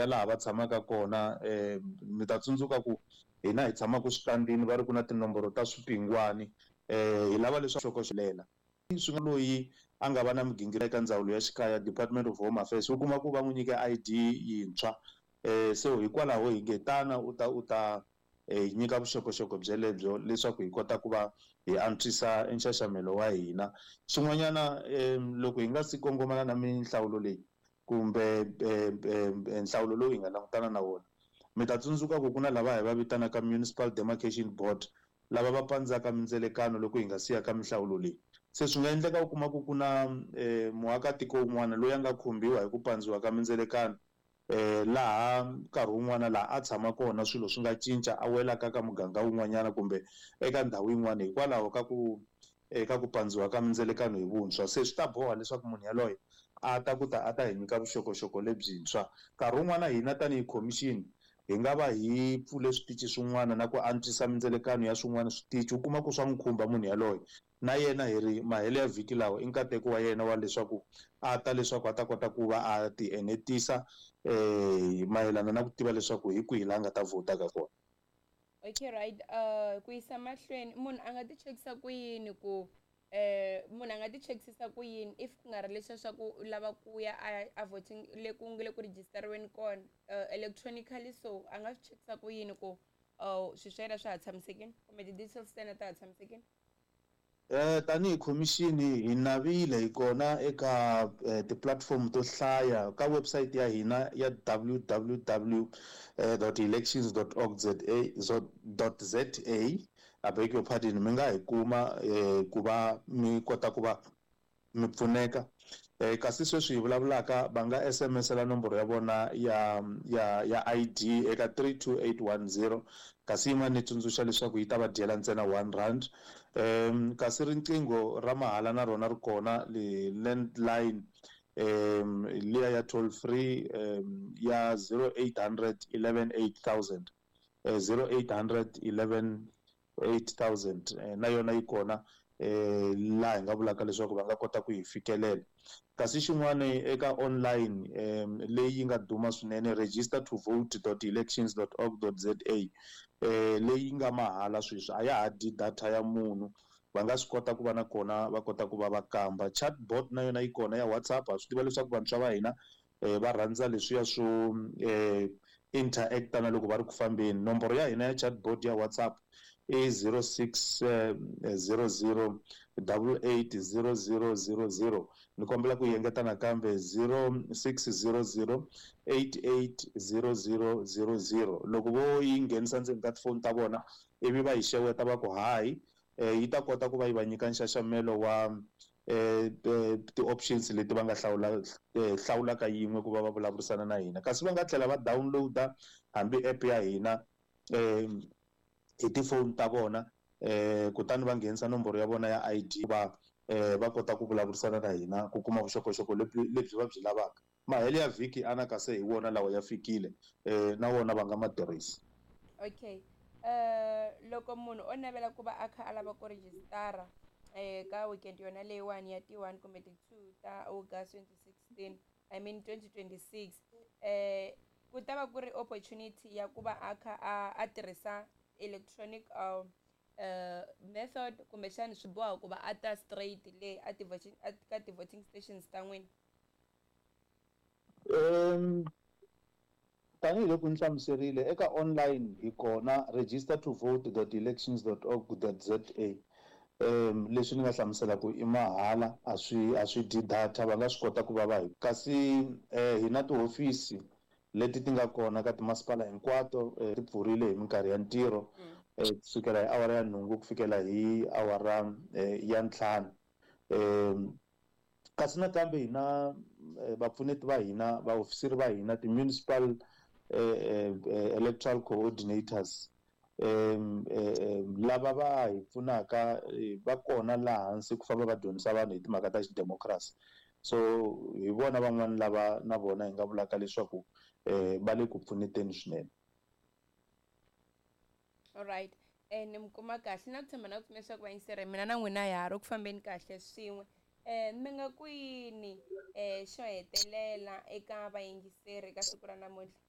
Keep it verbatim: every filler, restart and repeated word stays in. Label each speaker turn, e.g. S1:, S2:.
S1: Ya laha va tshamaka kona, um mi ta tsundzuka ku hina hi tshamaka switandini, va ri ku na tinomboro ta swipingwani. um hi lava leswaku xokoxelela swi nga loyi a nga va na migingiriko eka ndzawulo ya xikaya, Department of Home Affairs, u kuma ku va n'wi nyike I D yintshwa. um so hikwalaho hi nge tana u ta u ta hi nyika vuxokoxoko byelebyo leswaku hi kota ku va hi antswisa nxaxamelo wa hina. Xin'wanyana, um loko hi nga si kongomana na minhlawulo leyi kumbe nhlawulo lowu hi nga langutana na wona, mi ta tsundzuka ku ku na lava hi va vitanaka Municipal Demarcation Board, lava va pandzaka mindzelekano loko hi nga siya ka minhlawulo leyi. Se swi nga endleka u kuma ku ku na um muakatiko wun'wana loyi a nga khumbiwa hi ku pandziwa ka mindzelekano, eh laha nkarhi wun'wana laha a tshama kona swilo swi nga cinca, a welaka ka muganga wun'wanyana kumbe eka ndhawu yin'wana hikwalaho ka ku eka ku pandziwa ka mindzelekano hi vuntshwa. Se swi ta boha leswaku munhu yaloye a ta ku ta a ta hi nyika vuxokoxoko lebyintshwa. Nkarhi wun'wana hina tanihi khomixini hi nga va hi pfule switichi swin'wana na ku antswisa mindzelekano ya swin'wana switichi, u kuma ku swa n'wi khumba munhu yaloye. Na yena hi ri mahelo ya vhiki lawa i nkateko wa yena wa leswaku a ta leswaku a ta kota ku va a ti enetisa eh mayelana na ku tiva leswaku hi kwihi laha a nga ta vhota ka kona.
S2: Okay, right. uh ku yisa mahlweni, munhu a nga ti chekisa ku yini ku eh munhu a nga ti chekisisa ku yini if ku nga ri leswiya swa ku u lava ku ya a a voting le ku nga le ku rejistariweni kona uh, electronically? So a nga swi chekisa ku yini ku uh swilo swa yena swa ha tshamisekile kumbe ti-details ta yena ta ha tshamisekile?
S1: Eh tanihi khomixini hi navile hi kona eka ti-platform to hlaya, ka website ya hina ya w w w dot elections dot org za dot za, I beg your pardon, mi nga hi kuma ku va mi kota ku va mi pfuneka. eh kasi sweswi hi vulavulaka, va nga S M S-ela nomboro ya vona ya ya ya I D eka three two eight one zero, kasi yin'wana ni tsundzuxa leswaku yi ta va dyela ntsena one rand. um kasi riqingho ra mahala na rona ri kona, le landline um liya ya toll free um ya zero eight hundred eleven eight thousand, eh, zero eight hundred eleven eight thousand, eh, na yona yi kona eh laha hi nga vulaka leswaku va nga kota ku yi fikelela. Kasi xin'wana, eka online um leyi yi nga duma swinene, register to vote dot elections dot org dot za, eh leyi nga mahala sweswi, a ya ha dyi data ya munhu, va nga swi kota ku va na kona va kota ku va va kamba. Chatbot na yona yi kona ya WhatsApp. Ha swi tiva leswaku vantshwa va hina eh va rhandza leswiya swo eh interacta na loko va ri ku fambeni. Nomboro ya hina ya chatbot ya WhatsApp i zero six zero zero double eight zero zero zero zero. Ni kombela ku engeta nakambe, zero six zero zero eight eight zero zero zero zero. Loko vo yi nghenisa ndzeni ka tifoni ta vona ivi va yi xeweta va ku "Hi", eh yi ta kota ku va yi va nyika nxaxamelo wa eh ti-options leti va nga hlawula hlawulaka yin'we ku va va vulavurisana na hina. Kasi va nga tlhela va download-a hambi app ya hina eh hi tifoni ta vona, eh kutani va nghenisa nomboro ya vona ya I D, va eh va kota ku vulavurisana na hina ku kuma vuxokoxoko lebyi lebyi va byi lavaka. Mahelo ya vhiki anaka se hi wona lawa ya fikile, eh na wona va nga ma tirhisi.
S2: Okay, uh loko munhu o navela ku va a kha a lava ku rejistara eh ka weekend yona leyiwani ya ti one kumbe ti two ta August twenty sixteen, I mean twenty twenty-six, eh ku ta va ku ri opportunity ya ku va a kha a a tirhisa electronic uh, uh, method, kumbexani swi boha ku va a ta straight le a ti-voting ka ti-voting stations ta n'wina?
S1: um tanihiloko ni hlamuserile, eka online hi kona, register to vote dot elections dot org dot za. um leswi ni nga hlamusela ku i mahala, a swi a swi dyi data, va nga swi kota ku va va hi. Kasi eh, hi na tihofisi leti ti nga kona ka timasipala hinkwato, eh, ti pfurile hi minkarhi ya ntirho, eh, kusukela hi awara ya nhungu ku fikela hi awara eh, ya ntlhanu. um kasi nakambe hi na vapfuneti va hina, vaofisiri va hina, ti-municipal eh, eh, electoral coordinators, um lava va hi pfunaka, va kona laha hansi ku famba va dyondzisa vanhu hi timhaka ta xidemokirasi. So hi vona van'wani lava na vona hi nga vulaka leswaku um va le ku pfuneteni swinene.
S2: Alright, eh ni mi kuma kahle na ku tshemba na ku pfumela leswaku vayingiseri mina na n'wina ha ri ku fambeni kahle swin'we. um mi nga ku yini um xo hetelela eka vayingiseri eka siku ra namuntlha?